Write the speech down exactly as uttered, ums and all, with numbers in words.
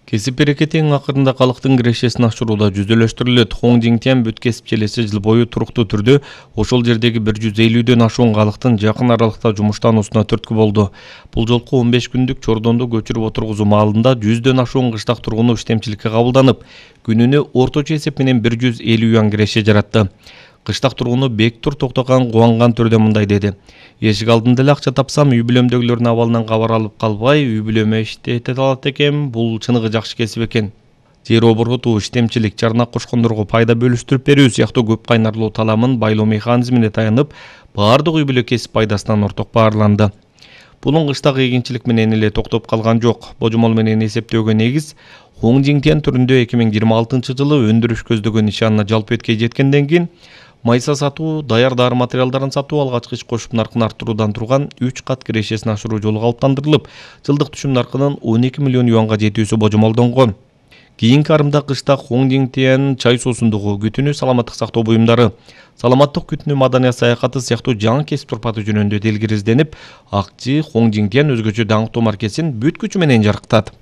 Кесип берекетинин акырында калктын кирешесин ашырууда жүзөлөштүрүлөт. Хоң Жиңтян бүт кесип челеси жыл бою туруктуу түрдө ошол жердеги бир жүз элүүдөн ашуун калктын жакын аралыкта жумуштануусуна түрткү болду. Бул жолку он беш күндүк чордонду көчүрүп отургузуу маалында жүздөн ашуун кыштак тургуну иштемчиликке кабылданып, күнүнө орточо эсеп менен бир жүз элүү юан киреше жаратты. Кыштак тургуну Бектур Токтоган кубанган түрдө мындай деди: Эшик алдында эле акча тапсам, үй бүлөмдөгүлөрдүн абалынан кабар алып калбай, үй бүлөмө иштете алат экем. Бул чыныгы жакшы кесип экен. Жер оборотуу, иштемчилик, чарнак кошкондорго пайда бөлүштүрүп берүү сыяктуу көп кайнарлуу таламын байлоо механизмине таянып, баардык үй бүлө кесип пайдасынан орток баарланды. Бунун кыштак эгинчилик менен эле токтоп калган жок. Божомол менен эсептөөгө негиз Хоң Жиңтян түрүндө эки миң жыйырма алтынчы жылы өндүрүш көздөгөн нишанына жалпы эткей жеткенден кийин майса сатуу, даяр дары материалдарын сатуу, алгачкы иш кошуп наркын арттыруудан турган үч кат кирешесин ашыруу жолу калыптандырылып, жылдык түшүм наркынын он эки миллион юанга жетүүсү божомолдонгон. Кийинки арымда кышта Хоң Жиңтян чай суусундугу, күтүнү, саламаттык сактоо буюмдары, саламаттык күтүнү, маданият саякаты сыяктуу жаңы кесип турпаты жөнүндө делгир изденип, акчы Хоң Жиңтян өзгөчө даңктуу маркесин бүт күчү менен жарыктат.